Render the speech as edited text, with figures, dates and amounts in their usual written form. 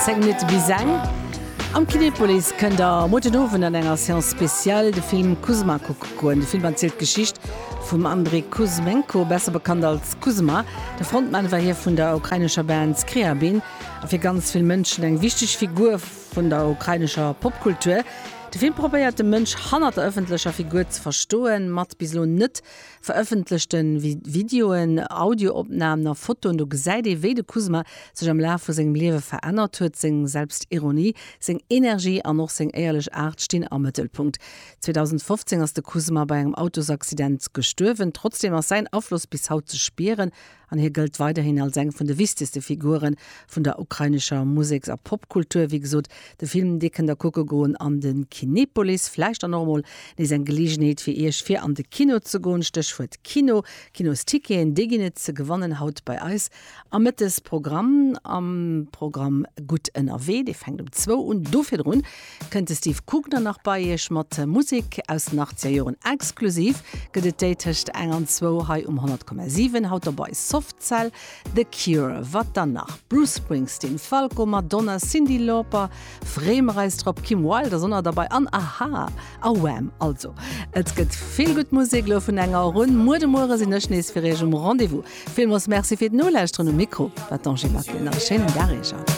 10 Minutte bis eng. Am Kinepolis kënnt der muer den Owend an enger Séance spéciale de Film Kuzma kucke goen. De Film erzielt d'Geschicht vum Andrij Kuzmenko, besser bekannt als Kuzma. De Frontman war hie vun der ukrainescher Band Scriabin a fir ganz vill Mënschen eng wichteg Figur vun der ukrainescher Popkultur. De Film probéiert de Mënsch hannert der ëffentlecher Figur ze verstoen, mat bis elo net Verëffentlechte Videoen, Audioopnamen a Fotoen, do gesäit ee wéi de Kuzma sech am Laf vu sengem Liewe verännert huet. Seng Selbstironie, seng Energie an och seng éierlech Aart stinn am Mëttelpunkt. 2015 ass de Kuzma bei engem Autosaccident gestuerwen. Trotzdeem ass säin Afloss bis haut ze spieren An hie gëllt weiderhin als eng vun de wichtegste Figure vun der ukrainescher Museks a Popkultur. Wéi gesot, de Film, dee kënnt der kucke goen an de Kinepolis. Vläicht dann och emol nees eng Geleegenheet fir Iech, fir an de Kino ze goen. Stéchwuert Kino, Kinosticketen, déi ginn et ze gewannen haut bei eis am Mëttesprogramm, am Programm Gutt ënnerwee. Dee fänkt um zwou un. Do virdrun Kënnt de Steve Kugner nach bei iech mat Musek aus den 80er Joren? Exklusiv gëtt et déi tëscht eng an zwou hei um 100,7. Haut dobei Soft Cell, The Cure, wat dann nach? Bruce Springsteen, Falco, Madonna, Cyndi Lauper, freeë mer eis drop, Kim Wilde ass och nach derbei an Aha a Wham! Also et gëtt vill gutt Musek elo vun enger Auer un. Muer de Muere sinn ech nees fir iech um Rendez-vous. Villmools Merci fir d'Nolauschteren. Um Mikro war d'Angie Maquet. Nach e schéinen Dag iech all.